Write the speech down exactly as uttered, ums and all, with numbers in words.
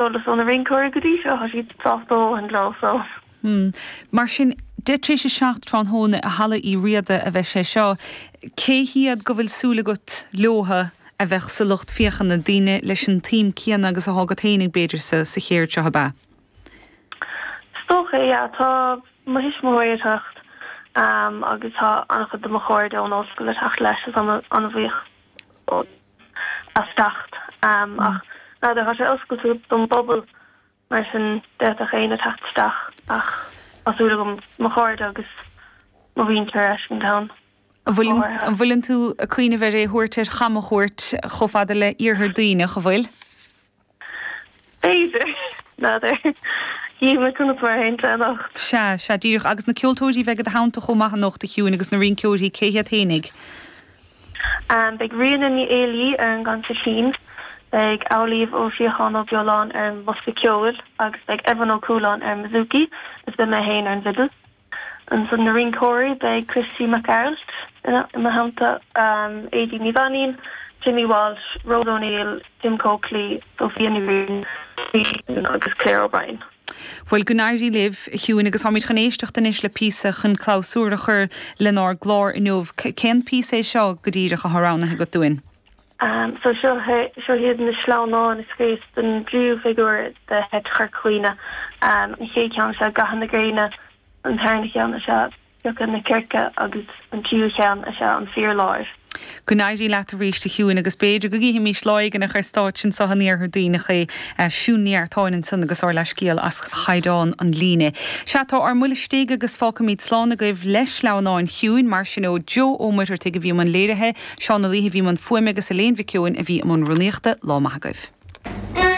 Eolas ó na rinceoirí go dtí seo, tá siad sásta a dhóthain leo so. Hmm. Mar sin, deich tar éis a seacht tráthnóna i Halla Uí Riada a bheidh sé seo. Cé hiad go bhfuil súil agat leotha a bheadh sa lucht féachana, daoine leis an tsuim céanna agus atá agat fhéinig b'fhéidir sa sa chéird seo ab ea? Is dócha é, yeah. Tá mo thuismitheoirí ag teacht um, agus tá an-chuid de mo chairde ón ollscoil ag teacht leis, is an-bhuíoch as teacht. Um, ach n'fheadar, tá sé oscailte don bpobal mar sin d'fhéadfadh éinne teacht isteach ach tá súil agam mo chairde agus mo mhuintir a fheiscint ann. An bhfuileann tú ag cuimhneamh ar é a thabhairt ar chamchuairt chomh fada le Iarthar Duibhneach, an bhfuil? B'fhéidir. N'fheadar. Chífidh mé conas mar a théann sé anocht. Sea, sea, díreach. Agus na ceoltóirí a bheidh i do theannta chomh maith anocht, a Shiúin, agus na rinceoirí, cé hiad fhéinig? Beidh Ríona Ní Éilí ar an gconsairtín, beidh Amhlaoibh Ó Síocháin Ó Beoláin ar an mbosca ceoil agus beidh Evan Ó Cualáin ar an mbouzouki is beidh mé féin ar an bhfidil. Ansan na rinceoirí, beidh Christy Mac Gearailt i mo theannta, Aedín Ní Mhainín, Jimmy Walsh, Rose O'Neill, Jim Coakley, Sophia Ní Riain agus Claire O'Brien. Bhuel, go n-éirí libh, a Shiúin, agus táimid chun éisteacht anois le píosa chun clabhsúr a chur lenár gclár inniu. Cén píosa é seo go díreach atá roghnaithe agat dúinn? So seo seo iad na sleamhnáin a scríos don dtríú figiúr de sheit Chorca Dhuibhne. An chéad cheann is ea Gatha na Gréine, an tarna cheann is ea Piocadh na Circe agus an tríú cheann is ea An Fear Láir. Go n-éirí leat arís, a Shiúin, agus b'fhéidir go gcífimís lá éigin ar stáitse anseo in Iarthar Duibhneach é. Siún Ní Neartáin ansan agus ár leithscéal as chaighdeán an líne. Sea, tá ár mbuille istigh agus fágfaimid slán agaibh le sleamhnáin Shiúin, mar sin ó Joe Ó Muircheartaigh a bhí i mbun léirithe, Seán Ó Laoithe a bhí i mbun fuaime agus Elaine Mhic Eoin a bhí i mbun rúnaíochta. Lá maith agaibh.